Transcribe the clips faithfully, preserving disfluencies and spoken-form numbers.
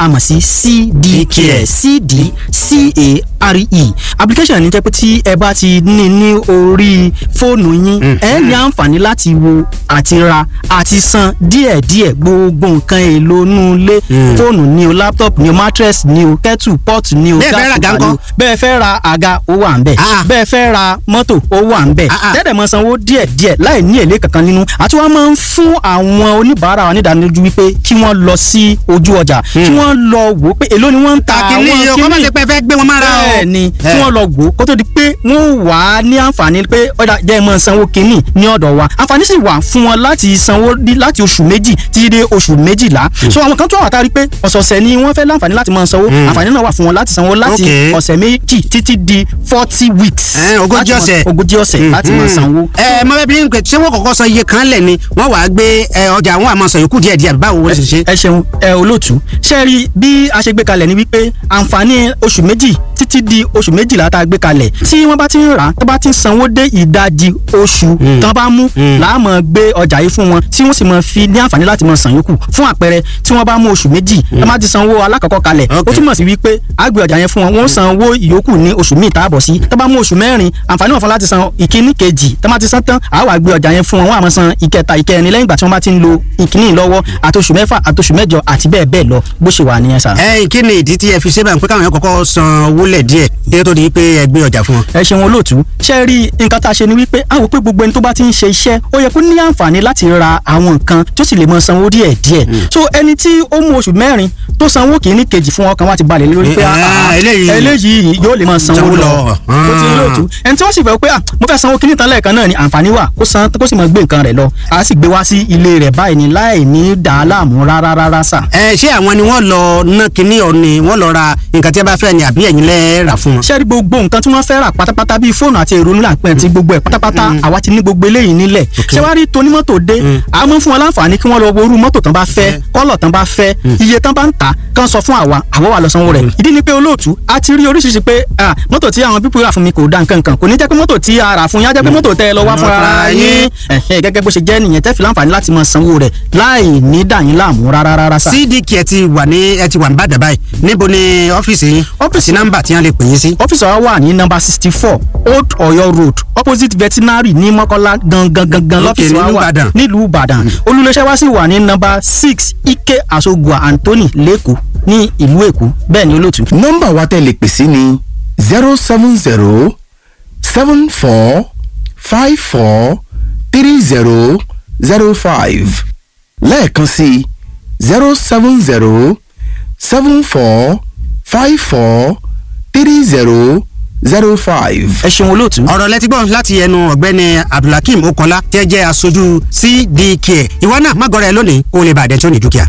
a mọ̀ sí C D Care, C D C A R E application ní jẹ́ pé tí ẹ bá ti ní ní orí fóònù yín, ẹ ní àǹfààní láti wo àti ra àti san díẹ̀díẹ̀ gbogbo nǹkan èlò inú ilé, fóònù ni o, laptop ni o, mattress ni o, kettle pot ni o, Bẹ́ẹ̀ fẹ́ ra gas àga cooker ni o. ńkọ́? Bẹ́ẹ̀ fẹ́ ra àga, ó wà ń bẹ̀. Ah. Bẹ́ẹ̀ fẹ́ ra mọ́tò, ó wà ń bẹ̀. Ah, ah. Tẹ́lẹ̀ mọ sanwó díẹ̀díẹ̀ láì ní èlé kankan nínú. Àti wọ́n máa ń fún àwọn oníbàárà wa nídánilójú wípé kí wọ́n lọ sí ojú ọjà, kí wọ́n lọ wò ó pé èló ni wọ́n ń ta Kàkínní àwọn yìí o, kọ́ má ṣe pé ẹ fẹ́ gbé wọn mára o. Bẹ́ẹ̀ ni, kí wọ́n lọ wò ó kó tó di pé wọ́n wà á ní àǹfààní pé ọ̀dà jẹ́ mọ́ sanwó kínní ní ọ̀dọ̀ wa. Àǹfààní sì wà fún wọn láti sanwó ní- láti oṣù méjì títí dé oṣù méjìlá. So àwọn kan tó wà tá a rí pé ọ̀sọ̀ọ̀sẹ̀ ni wọ́n fẹ́ láǹfààní láti máa sanwó, àǹfààní náà wà fún wọn láti sanwó láti Okay. ọ̀sẹ̀ méjì títí di forty weeks. Ẹ̀, ogójì Láti máa- ọ̀sẹ̀. Ogójì ọ̀sẹ̀ láti máa sanwó. Ẹ mọ bẹẹ bí n pè, ṣé wọn kọ́kọ́ sọ iye kan lẹ ni wọn wàá gbé ẹ, ọjà àwọn àmọ́ sọ yòókù díẹ̀ díẹ̀, báwo wọ́n ṣe ṣe? Ẹ ṣeun ẹ olóòtú. Ṣe rí bí a ṣe gbé kalẹ̀ ni wípé àǹfààní oṣù méjì títí di oṣù méjìlá tá a gbé kalẹ̀, tí wọ́n bá ti ń rà á, tó bá ti ń sanwó dé ìdajì oṣù tán bá mú, làá máa gbé ọjà yìí fún wọn, tí wọ́n sì máa fi ní àǹfààní láti máa san yòókù. Fún àpẹẹrẹ, tí wọ́n bá mú oṣù méjì, wọ́n bá ti sanwó alákọ̀ọ́kọ́ kalẹ̀, ó Okay. túmọ̀ sí wípé a gbé ọjà yẹn fún wọn, wọ́n san owó ìyókù ní oṣù míì táàbọ̀ sí. Tó bá mú oṣù mẹ́rin, àǹfààní wọn fún láti san ìkíní kejì. Tó bá ti san tán, a wá gbé ọjà yẹn fún wọn, wọ́n á máa san ìkẹta, ìkẹrin lẹ́yìn ìgbà tí wọ́n bá ti ń lo ìkíní lọ́wọ́, àti oṣù mẹ́fà, àti oṣù mẹ́jọ, àti bẹ́ẹ̀ bẹ́ẹ̀ lọ, bó ṣe wà nìyẹn sà. Ẹ kí ni ìdí tí ẹ fi ṣe báyìí pé káwọn yẹn kọ́kọ́ san owó lẹ̀ díẹ̀ kí ó tó di pé ẹ gbé ọjà fún wọn? Ẹ ṣeun olóòtú. Ṣe rí nǹkan tá a ṣe ni wípé a wò pé gbogbo ẹni tó bá ti ń ṣe iṣẹ́, ó yẹ kó ní àǹfààní láti ra àwọn nǹkan tó sì lè mọ sanwó díẹ̀ díẹ̀. So ẹni tí ó mú oṣù mẹ́rin tó sanwó kìíní kejì fún, ọkàn wa ti balẹ̀ lórí pé Eh, ah, ah, eléyìí- eléyìí yóò lè mọ sanwó Sanwó lọ. lọ. Tó ti olóòtú, ẹni tí wọ́n sì fẹ́ pé ah, mo fẹ́ sanwó kìíní tán lẹ́ẹ̀kan náà ni, àǹfààní wà kó san, kó sì mọ gbé nǹkan rẹ̀ lọ, a sì gbé wá sí ilé rẹ̀ báyìí ni láì ní dàá láàmú rárá rárá sà. Ẹ ṣé àwọn ni wọ́n lọ ná kinní ọ ni wọ́n lọ ra nǹkan tí ẹ bá fẹ́ ni, àbí ẹ̀yin lẹ rà fún wọn? Ṣé rí gbogbo nǹkan tí wọ́n fẹ́ rà pátápátá, bíi fóònù àti èrò nílà pẹ́ àti gbogbo ẹ̀ pátápátá, àwa ti ní gbogbo eléyìí nílẹ̀. Ṣé wàá rí tonímọ́tò dé, a mọ̀ fún wọn láǹfààní kí wọ́n lọ wo irú mọ́tò tán bá fẹ́, kọ́lọ̀ tán bá fẹ́, iye tán bá ń tà, kán sọ fún àwa, àwa wà lọ sanwó rẹ̀. Ìdí ni pé olóòtú, a ti rí oríṣiríṣi pé ah, mọ́tò tí àwọn pípọ̀ rà fún mi kò da nǹkan kan. Kò ní jẹ́ pé mọ́tò tí a rà fún yín á jẹ́ pé mọ́tò tẹ́ ẹ lọ wá fúnra yín. Ẹ̀hẹ́, gẹ́gẹ́ bó ṣe jẹ́ nìyẹn, tẹ́ fi láǹfààní láti máa sanwó rẹ̀ láì ní dà yín láàmú rárá rárá sà. C D K ẹ ti wà ní ẹ ti wà ní Ìbàdàn báyìí, níbo ni ọ́fíìsì yín? Ọ́fíìsì- àti nọ́mbà tí wọ́n lè pè yín sí? Ọ́fíìsì wa wà ní nọ́mbà sixty four, Old Ọ̀yọ́ Road, opposite veterinary ní Mọ́kọ́lá gangan gangan Ok, lọ́fíìsì wa nílùú wà Ìbàdàn. nílùú Ìbàdàn. Olùléṣẹ́ wa sì wà ní nọ́mbà six, Ike Asogua Anthony, lẹ́kọ̀ọ́ ní ìlú Èkó. Bẹ́ẹ̀ ni olóòtú. Nọ́mbà wa tẹ́ lè pè sí ni zero seven zero seven four five four three zero zero five, lẹ́ẹ̀kan sí zero seven zero seven four five four three zero zero five. Ẹ ṣeun olóòtú. Ọ̀rọ̀ lẹ́tí gbọ́ láti ẹnu ọ̀gbẹ́ni Abdulhakeem Okola tí ẹ jẹ́ aṣojú C D K. Ìwọ náà má gọrẹ lónìí kó o lè bàdẹ́ tó ní dúkìá.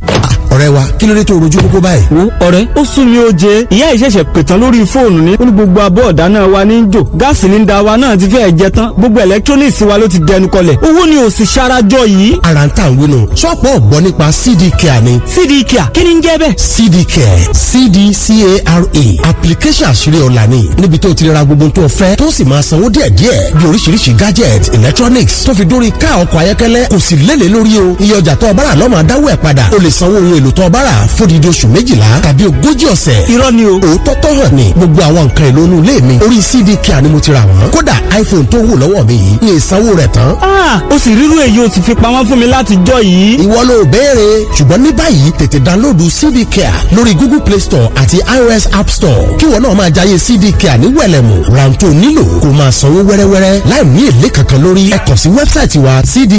Ọ̀rẹ́ wa, kí ló dé tó rojú kókó báyìí? Wo ọ̀rẹ́, ó sún mi ó jẹ. Ìyá ìṣẹ̀ṣẹ̀ pètàn lórí fóònù ní ó ní gbogbo abọ́ ọ̀dá náà wa ní í jò, gáàsì ní da wa náà ti fẹ́ẹ̀ jẹ tán, gbogbo electronics wa ló ti dẹnu kọlẹ̀, owó ni ò sì ṣarajọ yìí. Ara ń tà ń wúnu, ṣọ́ọ̀pù ọ̀gbọ́n nípa C D Care ni. C D Care, kí ni ń jẹ́ bẹ́ẹ̀? C D Care, C D C A R E, application àṣírí ọ̀la ni, níbi tó ti ra gbogbo tó fẹ́, tó sì máa sanwó díẹ̀díẹ̀, bí oríṣiríṣi gadget, electronics, tó fi dórí ká ọkọ̀ ayọ́kẹ́lẹ́. Kò sì lélẹ̀ lórí o, iye ọjà tó o bá rà lọ́mọ adáwọ̀ ẹ̀ padà. O lè sanwó ohun èlò tó o bá rà fódìdí oṣù méjìlá tàbí ogójì ọ̀sẹ̀. Irọ́ ni o. Òótọ́ tó hàn ní, gbogbo àwọn nǹkan èlò inú ilé mi, orí C D Care ni mo ti rà wọ́n. Kódà iPhone tó wù lọ́wọ́ mi yìí ní ìsanwó rẹ̀ tán. Ah, ó sì rírú èyí ó sì fi pamọ́ fún mi láti jọ yìí. Ìwọ ló béèrè, ṣùgbọ́n ní báyìí tètè download C D Care lórí Google Play Store àti iOS App Store, kí ìwọ náà máa jayé C D Care ní wẹ̀lẹ̀mù. Rántó nílò kó máa sanwó wẹ́rẹ́wẹ́rẹ́ láì ní èlé kankan lórí. Ẹ kàn sí website wa cd